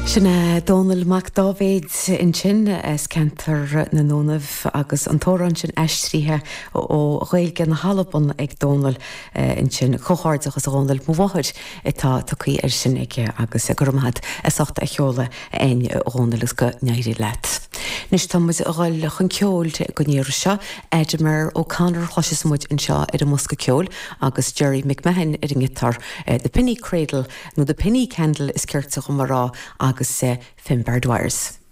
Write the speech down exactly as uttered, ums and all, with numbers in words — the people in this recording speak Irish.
Sin é Dónall Mac Dáibhéid ansin as ceantar na nDúnaibh agus an t-amhrán sin aistrithe ó Ghaeilge na hAlban ag Dónall ansin comhghairdeachas a Dhónaill mo mháthair atá tugtha air sin aige agus go raibh maith agat as ucht a sheoladh a Dhónaill is go n-éirí leat. Anois tá muid ag dul chun ceoil don iarraidh seo Ademar O'Connor chloisfidh muid anseo ar an mbosca ceoil agus Jerry McMahon ar an ngiotár The Penny Cradle nó The Penny Candle is ceart dom a rá agus uh, Finbar Dwyers.